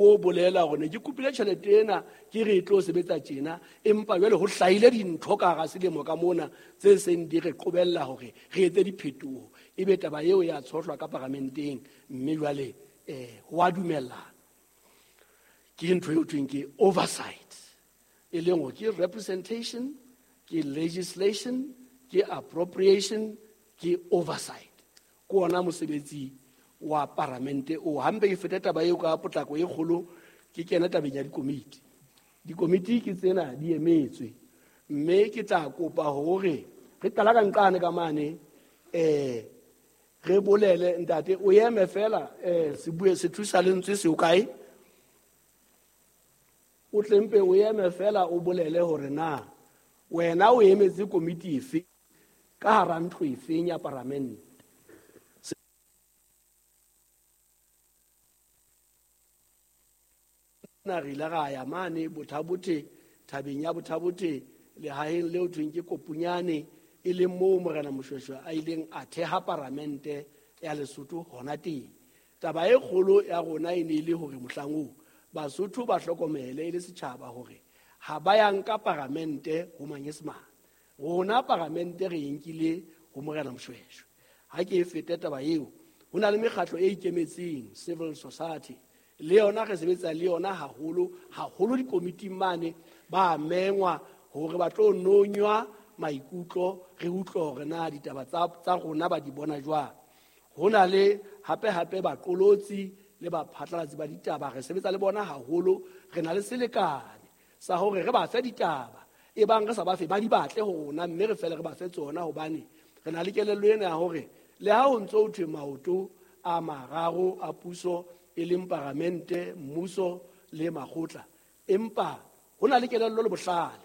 O bolela hore ne ke kopile tjhelete ena ke re e tlo sebetsa tjena, empa jwale ho hlahile dintho ka hara selemo ka mona tse seng di re qobella hore re etse diphetoho. Ebe taba eo ya tshohlwa ka paramenteng, mme jwale ho a dumellana. Ke ntho eo thweng ke oversight, e leng hore ke representation, ke legislation, ke appropriation, ke oversight. Ke ona mosebetsi wa paramente o. Hampe ke fete taba eo ka potlako e kgolo, ke kena tabeng ya dikomiti. Dikomiti ke tsena di emetswe, mme ke tla kopa hore re qala ka nqane ka mane, re bolele ntate o eme fela, se bue se thusa lentswe se o kae, o tlempe o eme fela o bolele hore na wena o emetse komiti efe ka hara ntlo efeng ya paramente. Na re ile ra ya mane Bothabothe, thabeng ya Bothabothe, lehaheng leo thweng ke Kopunyane, e leng moo Morena Moshoeshoe a ileng a theha paramente ya Lesotho hona teng. Taba e kgolo ya rona e ne e le hore mohlang oo Basotho ba hlokomele e le setjhaba hore ha ba ya nka paramente ho Manyesemane. Rona paramente re e nkile ho Morena Moshoeshoe. Ha ke e fete taba eo, ho na le mekgatlo e ikemetseng, civil society, le yona re sebetsa le yona haholo haholo dikomiting mane, ba mengwa hore ba tlo nonywa maikutlo, re utlwe hore na ditaba tsa rona ba di bona jwang. Ho na le hape hape baqolotsi le baphatlalatsi ba ditaba, re sebetsa le bona haholo, re na le selekane sa hore re ba fe ditaba, e bang re sa ba fe ba di batle ho rona, mme re fele re ba fe tsona, hobane re na le kelello ena ya hore le ha ho ntso ho thwe maoto a mararo a puso, e leng paramente, mmuso le makgotla, empa ho na le kelello le bohlale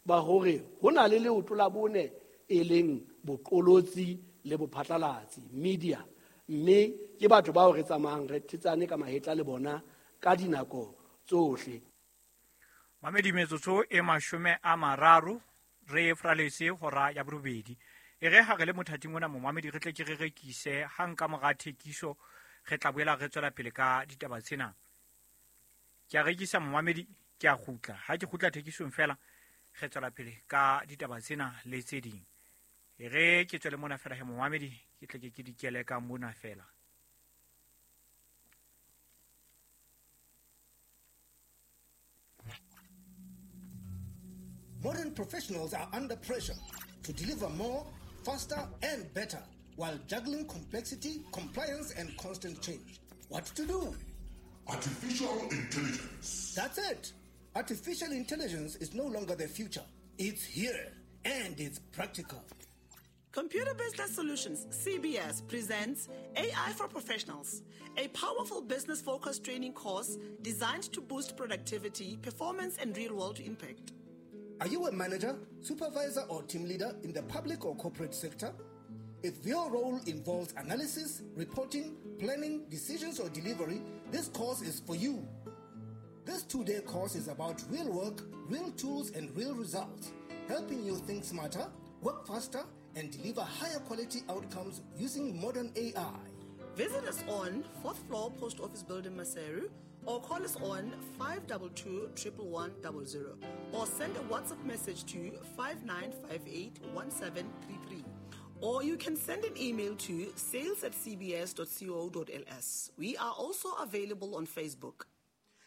ba hore ho na le leoto la bone e leng boqolotsi le bophatlalatsi, media, mme ke batho bao re tsamayang re thetsane ka mahetla le bona ka dinako tsohle. Mamedi metsotso e 30 re fraletse hora ya borobedi. E re ha re le mothating ona momamedi re tle ke re rekise hang ka mora thekiso, re tla boela re tswela pele ka ditaba tsena. Ke a rekisa momamedi, ke a kgutla. Ha ke kgutla thekisong fela, re tswela pele ka ditaba tsena le tse ding. E re ke tswele mona fela he momamedi, ke tle ke di kele ka mona fela. Modern professionals are under pressure to deliver more, faster, and better while juggling complexity, compliance, and constant change. What to do? Artificial intelligence. That's it. Artificial intelligence is no longer the future. It's here, and it's practical. Computer Business Solutions, CBS, presents AI for Professionals, a powerful business-focused training course designed to boost productivity, performance, and real-world impact. Are you a manager, supervisor, or team leader in the public or corporate sector? If your role involves analysis, reporting, planning, decisions, or delivery, this course is for you. This 2-day course is about real work, real tools, and real results, helping you think smarter, work faster, and deliver higher quality outcomes using modern AI. Visit us on 4th floor Post Office Building, Maseru, or call us on 522 11100, or send a WhatsApp message to 5958 1733. Or you can send an email to sales@cbs.co.ls. We are also available on Facebook.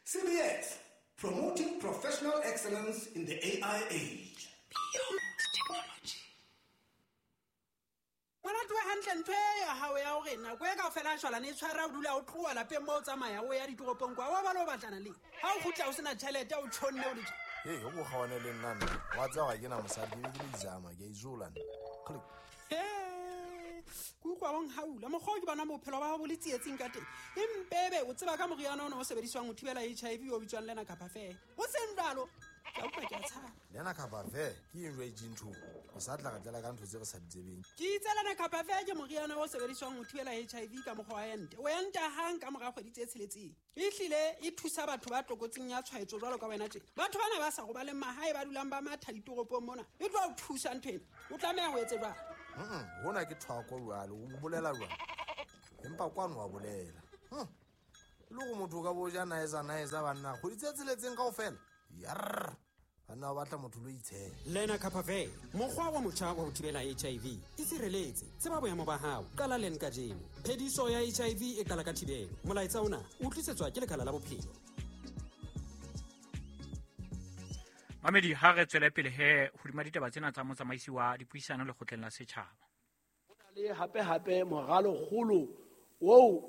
CBS, promoting professional excellence in the AI age. Beyond technology. Ngwana tloha hantle ntho e ya hao ya hore nako e kaofela a shwalane e tshwara o dula o tloha lapeng moo o tsamaya o ya ditoropong kwa, wa ba le o batlana le. Ha o kgutla o sena tjhelete, o tjhonne o le tje. Hei, o ko kgaohane le nna nna. Wa tseba ha ke na mosadi, ke be ke le izama, ke a izola nna. Click. He, ke utlwa o nhaula. Mokgwa o ke bonang bophelo ba hao bo le tsietsing ka teng. Empebe o tseba ka moriana ona o sebediswang ho thibela HIV o bitswang Lena Kapa Fair. O seng jwalo, ke a utlwa ke a tshaba. Lena Kapa Fair ke eng jwale dintho? O sa tla re tlela ka ntho tse re sa di tsebeng. Ke itse Lena Kapa Fair ke moriana o sebediswang ho thibela HIV ka mokgwa wa ente. O enta hang ka mora kgwedi tse tsheletseng. Ehlile e thusa batho ba tlokotsing ya tshwaetso jwalo ka wena tje. Batho bana ba sa robaleng mahae ba dulang ba matha ditoropong mona. E tlo o thusa ntho ena. O tlameha ho etse jwang? Hona ke thwako jwalo, o bolela jwang? Empa kwano wa bolela. E le gore motho o ka bo ja naesa banna kgwedi tse tsheletseng kaofela. Yarr, banna ba batla motho lo itshela. Lenacapavir, mokgwa wa motjha wa ho thibela HIV. Itshireletse, tseba boemo ba hao, qala len kajeno. Phediso ya HIV e qala ka thibelo. Molaetsa ona o tlisetswa ke Lekala la Bophelo. Mamedi, ha re tswele pele he hodima ditaba tsena tsa motsamaisi wa dipuisano lekgotleng la setjhaba. Ho na le hape moralokgolo oo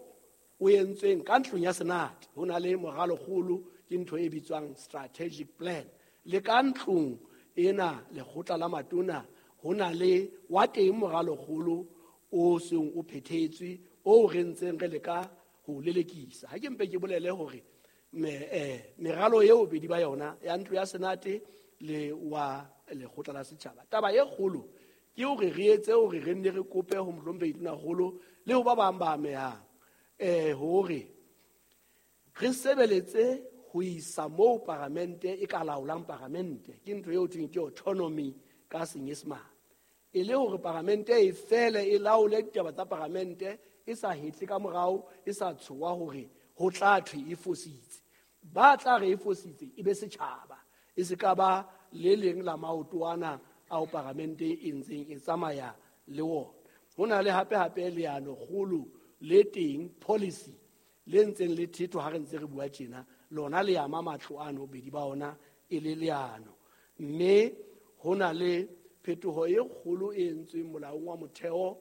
o entsweng ka ntlong ya Senate. Ho na le moralokgolo, ke ntho e bitswang strategic plan. Le ka ntlong ena lekgotla la matona ho na le wa teng moralokgolo o seng o phethetswe o re ntseng re leka ho lelekisa. Ha ke mpe ke bolele hore meralo eo bedi ba yona ya ntlo ya Senate le wa lekgotla la setjhaba. Taba e kgolo ke hore re etse hore re nne re kope ho mohlomphehi Tonakgolo le ho ba bang ba amehang hore re sebeletse ho isa moo paramente e ka laolang paramente. Ke ntho eo thweng ke autonomy ka Senyesemane. E le hore paramente e fele e laole ditaba tsa paramente e sa hetle ka morao, e sa tshoha hore ho tla thwe e fositse. Ba tla re e fositse e be setjhaba, e se ka ba le leng la maoto ana ao paramente e ntseng e tsamaya le wona. Ho na le hape leano kgolo le teng, policy le ntseng le thethwa ha re ntse re bua tjena, lona le ama matlo ano bedi ba ona e le leano. Mme ho na le phetoho e kgolo e entsweng molaong wa motheo,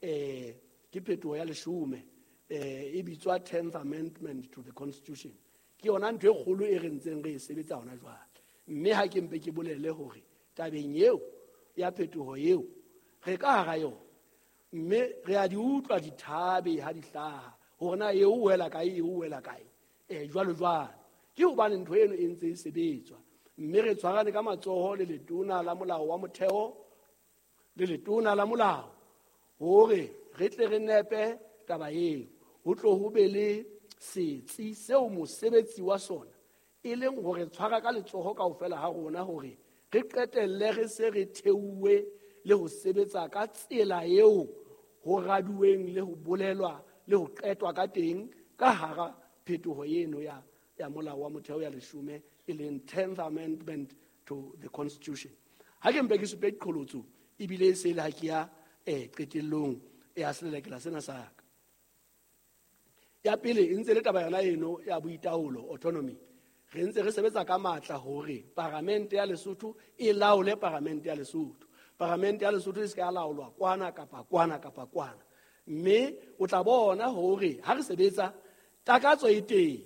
ke phetoho ya 10, e bitswa 10th Amendment to the Constitution. Ke yona ntho e kgolo e re ntseng re e sebetsa hona jwale. Mme ha ke mpe ke bolele hore tabeng eo ya phetoho eo re ka hara yona, mme re a di utlwa dithabe ha di hlaha hore na eo o wela kae, eo o wela kae, jwalo jwalo. Ke hobane ntho eno e ntse e sebetswa, mme re tshwarane ka matsoho le letona la molao wa motheo le letona la molao hore re tle re nepe taba eo. Ho tlo ho be le setsi seo mosebetsi wa sona e leng hore tshwara ka letsoho kaofela ha rona hore re qetelle re se re theuwe le ho sebetsa ka tsela eo ho raduweng le ho bolelwa le ho qetwa ka teng ka hara phetoho eno ya molao wa motheo ya 10, e leng 10th Amendment to the Constitution. Ha ke mpe ke supe diqholotso ebile e se le ha ke ya qetellong ya selelekela sena sa ka. Ya pele e ntse le taba yona eno ya boitaolo, autonomy. Re ntse re sebetsa ka matla hore paramente ya Lesotho e laole paramente ya Lesotho. Paramente ya Lesotho e se ka laolwa kwana kapa kwana kapa kwana. Mme o tla bona hore ha re sebetsa takatso e teng.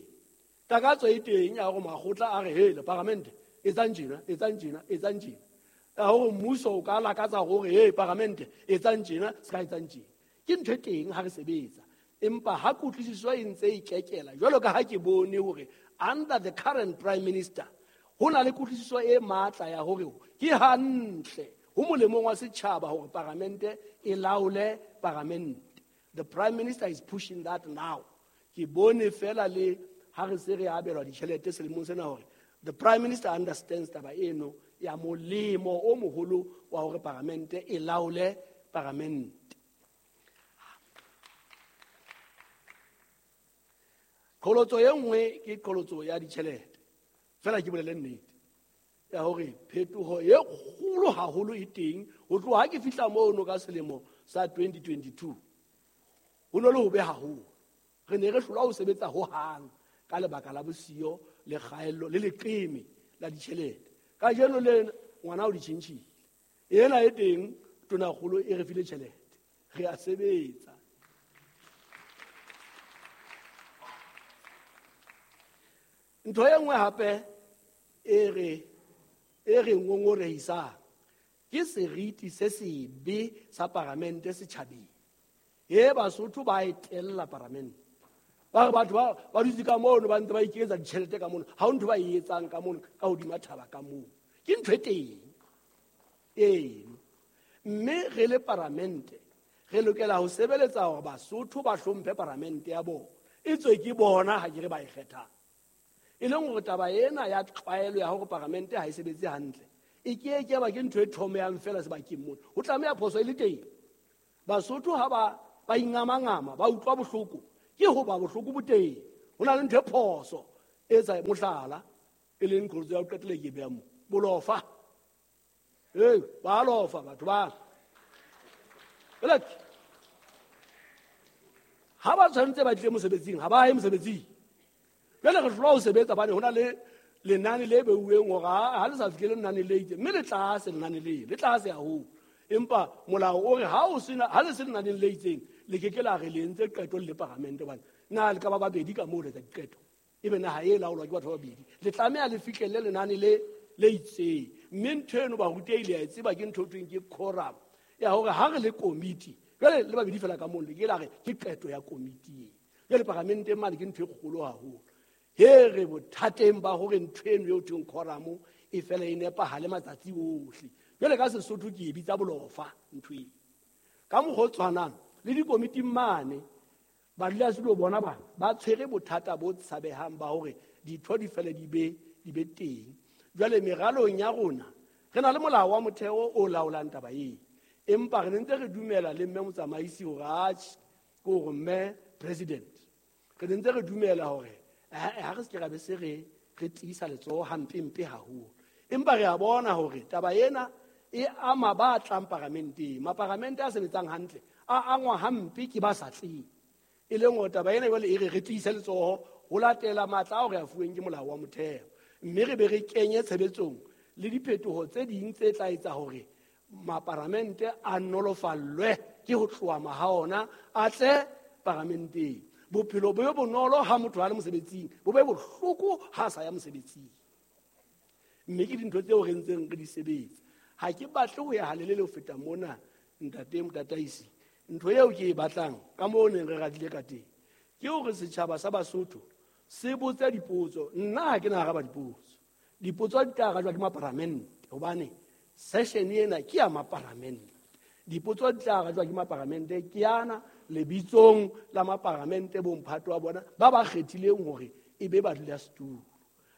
Takatso e teng ya hore makgotla a re hele paramente etsang tjena, etsang tjena, etsang tjena. Ya hore mmuso o ka lakatsa hore he paramente etsang tjena, se ka etsang tjena. Ke ntho e teng ha re sebetsa. Empa ha kutlwisiso e ntse e kekela jwalo ka ha ke bone hore under the current prime minister ho na le kutlwisiso e matla ya hore ke hantle ho molemong wa setjhaba hore paramente e laole paramente. The prime minister is pushing that now. Ke bone fela le ha re se re abelwa ditjhelete selemong sena hore the prime minister understands taba eno ya molemo o moholo wa hore paramente e laole paramente. Qholotso e nngwe ke qholotso ya ditjhelete. Fela ke bolele nnete ya hore phetoho e kgolo haholo e teng ho tloha ha ke fihla mono ka selemo sa 2022. Ho no le hobe haholo. Re ne re hlolwa ho sebetsa hohang ka lebaka la bosiyo le kgaello le leqeme la ditjhelete. Kajeno le ngwana o di tjhentjhile. Ena e teng Tonakgolo e re file tjhelete. Re a sebetsa. Ntho e nngwe hape e re ngongorehisang ke seriti se sebe sa paramente setjhabeng. E Basotho ba e tella paramente. Ba re batho ba dutse ka mono ba ntse ba iketsa ditjhelete ka mono, ha ho ntho ba e etsang ka mono ka hodima thaba ka mono. Ke ntho e teng eno. Mme re le paramente re lokela ho sebeletsa hore Basotho ba hlomphe paramente ya bona. E tswe ke bona ha ke re ba e kgethang. E leng hore taba ena ya tlwaelo ya hore paramente ha e sebetse hantle e ke ke ba ke ntho e thomehang fela sebakeng mona. Ho tlameha phoso e le teng. Basotho ha ba ingamangama ba utlwa bohloko, ke hoba bohloko bo teng. Ho na le ntho e phoso e etsa mohlala e leng qholotso ya ho qetela ke beha mo. Bolofa. Ee, ba lofa batho ba. Elek. Ha ba tshwanetse ba tle mosebetsing, ha ba ye mosebetsing. Jwale re hlolwa ho sebetsa bane ho na le lenane le beuweng hore ha le sa fihlele lenane le itseng, mme le tlase lenane le, le tlase haholo. Empa molao o re ha o sena, ha le se lenaneng le itseng, le ke ke la re le entse qeto le paramente hobane na le ka ba babedi ka moo le etsa diqeto. Ebe naha e laolwa ke batho ba babedi. Le tlameha le fihlelle lenane le itseng. Mme ntho eno barutehi le a e tseba ke ntho e thweng ke quorum. Ya hore ha re le komiti, jwale le babedi fela ka moo le ke la re ke qeto ya komiti e. Jwale paramenteng mane ke ntho e kgolo haholo. He re bothateng ba hore ntho eno eo thweng quorum e fela e nepahale matsatsi ohle. Jwale ka Sesotho ke e bitsa bolofa ntho e. Ka mokgwa o tshwanang le dikomiting mane, badulasetulo bona bana ba tshwere bothata bo tshabehang ba hore ditho di fele di be teng. Jwale meralong ya rona re na le molao wa motheo o laolang taba e. Empa re ntse re dumela le mme motsamaisi hore atjhe, ke hore mme president. Re ntse re dumela hore ha re se ke ra be se re tiisa letsoho hampempe haholo. Empa re a bona hore taba ena e ama ba tlang paramenteng. Maparamente a sebetsang hantle a angwa hampe ke ba sa tleng. E leng hore taba ena jwale e re re tiise letsoho ho latela matla ao re a fuweng ke molao wa motheo. Mme re be re kenye tshebetsong le diphetoho tse ding tse tla etsa hore maparamente a nolofallwe ke ho tloha maha ona a tle paramenteng. Bophelo bo be bonolo ha motho a le mosebetsing, bo be bohloko ha a sa ya mosebetsing. Mme ke dintho tseo re ntseng re di sebetsa. Ha ke batle ho ya halelele ho feta mona, ntate motataisi. Ntho eo ke e batlang ka moo neng re radile ka teng ke hore setjhaba sa Basotho se botse dipotso. Nna ha ke na araba dipotso. Dipotso di tla arajwa ke maparamente hobane session ena ke ya maparamente. Dipotso di tla arajwa ke maparamente ke yana lebitsong la maparamente bomphato wa bona ba ba kgethileng hore e be badulasetulo.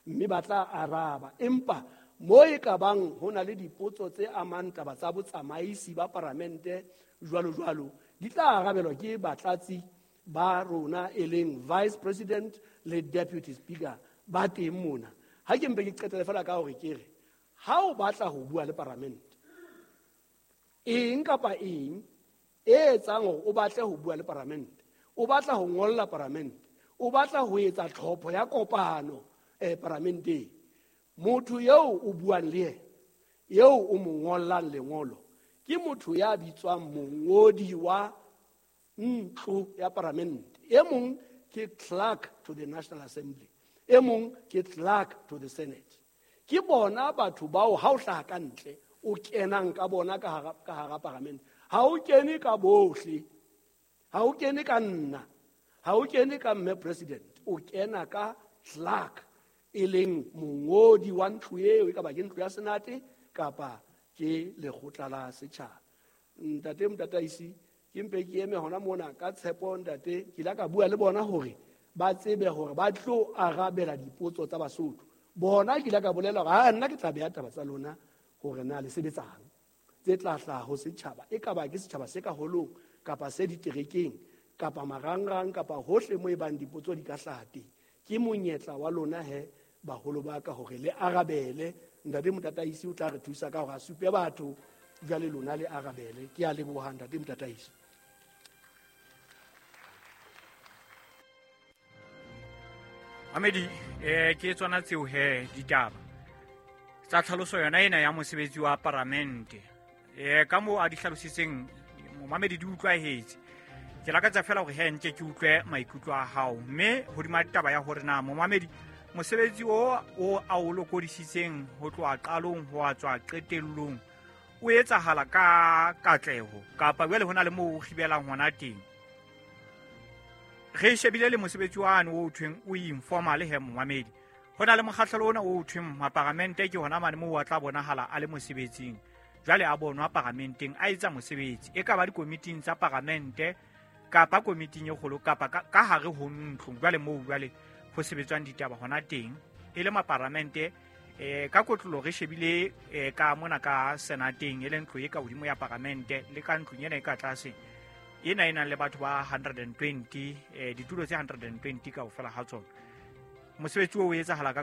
Mme ba tla araba. Empa mo e ka bang ho na le dipotso tse amang taba tsa botsamaisi ba paramente jwalo jwalo, di tla arabelwa ke batlatsi ba rona e leng vice president le deputy speaker ba teng mona. Ha ke mpe ke qetele fela ka hore ke re ha o batla ho bua le paramente, eng kapa eng e etsang hore o batle ho bua le paramente, o batla ho ngolla paramente, o batla ho etsa tlhopho ya kopano paramenteng, motho eo o buang le yena, eo o mo ngollang lengolo, ke motho ya bitswang mongodi wa ntlo ya paramente. E mong ke clerk to the National Assembly, e mong ke clerk to the Senate. Ke bona batho bao ha o hlaha ka ntle o kenang ka bona ka hara paramente. Ha o kene ka bohle, ha o kene ka nna, ha o kene ka mme president, o kena ka clerk e leng mongodi wa ntlo eo, e ka ba ke ntlo ya Senate kapa ke lekgotla la setjhaba. Ntate motataisi, ke mpe ke eme hona mona ka tshepo ntate, ke ile ka bua le bona hore ba tsebe hore ba tlo arabela dipotso tsa Basotho. Bona ke ile ka bolela hore ha nna ke tla beha taba tsa lona hore na le sebetsang tse tla hlaha ho setjhaba, e ka ba ke setjhaba se ka holong kapa se diterekeng kapa marangrang kapa hohle mo e bang dipotso di ka hlaha teng. Ke monyetla wa lona he baholo ba ka hore le arabele. Ntate motataisi o tla re thusa ka hore a supe batho, jwale lona le arabele. Ke a leboha ntate motataisi. Mamedi, ke tsona tseo he ditaba tsa tlhaloso yona ena ya mosebetsi wa paramente. Ka moo a di hlalositseng momamedi di utlwahetse. Ke lakatsa fela hore he nke ke utlwe maikutlo a hao, mme hodima taba ya hore na momamedi mosebetsi o a o lokodisitseng ho tloha qalong ho a tswa qetellong o etsahala ka katleho kapa jwale ho na le moo o kgibelang hona teng. Re shebile le mosebetsi wane o thweng o informal he momamedi. Ho na le mokgahlelo ona o thweng maparamente, ke hona mane moo a tla bonahala a le mosebetsing. Jwale a bonwa paramenteng a etsa mosebetsi, e ka ba dikomiting tsa paramente kapa komiting e kgolo kapa ka hare ho ntlo. Jwale moo jwale ho sebetswang ditaba hona teng e le maparamente. Ka kotlolo re shebile ka mona ka senateng e leng ntlo e ka hodimo ya paramente le ka ntlong ena e ka tlase. Ena e nang le batho ba 120, ditulo tse 120 kaofela ha tsona. Mosebetsi o etsahala ka